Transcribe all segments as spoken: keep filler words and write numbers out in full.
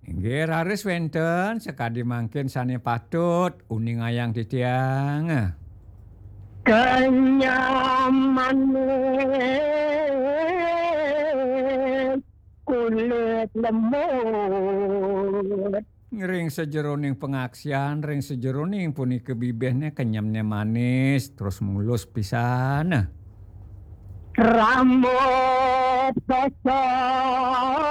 Inggih, raris wénten sakadi mangkin sané patut uningayang titiang. Kenyam manis kulit lembut. Ring sajeroning pangaksian, ring sajeroning punika bibihné kenyemné manis, terus mulus pisan. Rambut sosok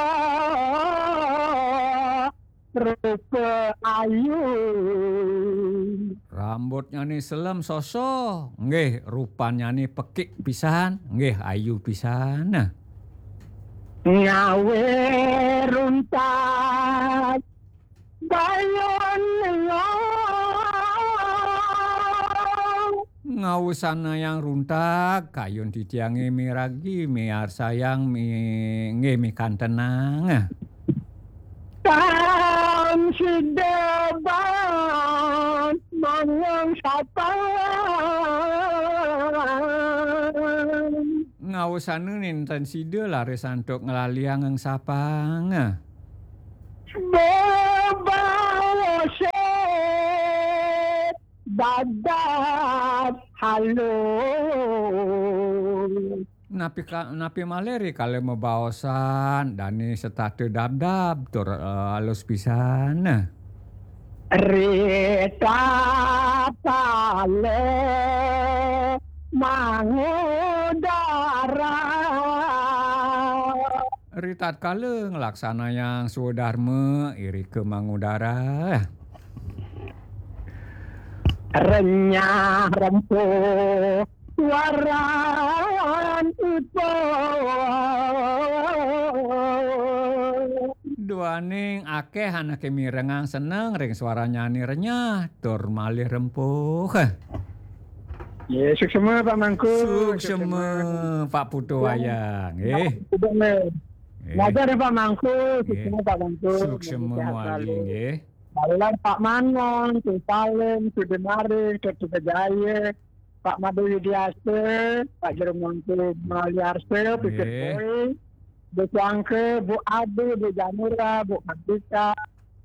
rupa ayu. Rambutnyané selem soso, nggih, rupannyané pekik pisan, nggih, ayu pisan. Ngawé runtak bayun ngelong. Ngawusanayang runtak, kayun titiangé miragi, miarsayang, mi-, nggih, mikantenang. Tan sida ban mangang sapang. Ngawusana nénten sida laris antuk nglaliang sapang. Bebaosan dadap halus. Napi ka-, napi malih rikala mabaosan, dané setata dabdab tur, eh, alus pisan. Ritatkala mangudara. Ritatkala nglaksanayang swadarma irika mangudara. Renyah rempuh waran ipun. Duaning akéh anaké mirengang seneng ring swaranyané renyah tur malih rempuh. Ya, suksma Pak Mangku. Suksma, Pak Putu Wayang, nggih. Suksma. Nggih. Ngajar ya, Pak Mangku, suksma Pak Mangku. Suksma sehat selalu. Nggih. Baluran Pak Manon, Sing Salim, Sudimari, Kertajaya, Pak Made Widiasa, Pak Jero Mangku Maliarsa, Pipit Boy, Bu Suangke, Bu Ade, Bu Janura, Bu Mardika,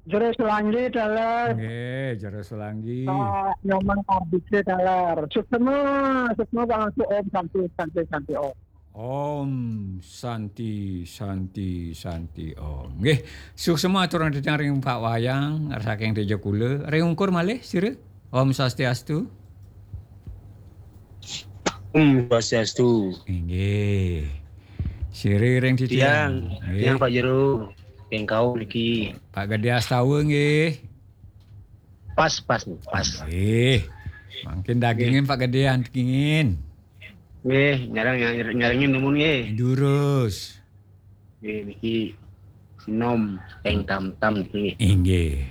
Jero Selanggi, taler. Nggih, Jero Selanggi. Pak Nyoman Ardike, taler. Suksma, suksma Pak Mangku, Om Santi, Santi, Santi, Om. Om Santi, Santi, Santi, Om. Nggih, suksma aturang titiang ring Pak Wayang, saking Tejakula. Ring ungkur malih, sira? Om Swastiastu. Om Swastiastu. Inggih. Sira ring titiang. Tiang, nggih. Tiang Pak Jero, Pengkau niki. Pak Gede Astawa nggih. Pas, pas, pas. Nggih. Mangkin dagingin Pak Gedean dagingin. Nggih, nyarang, nyarang, nyarengin numun nggih. Durus. Nggih, niki sinom teng tam-tam niki. Inggih.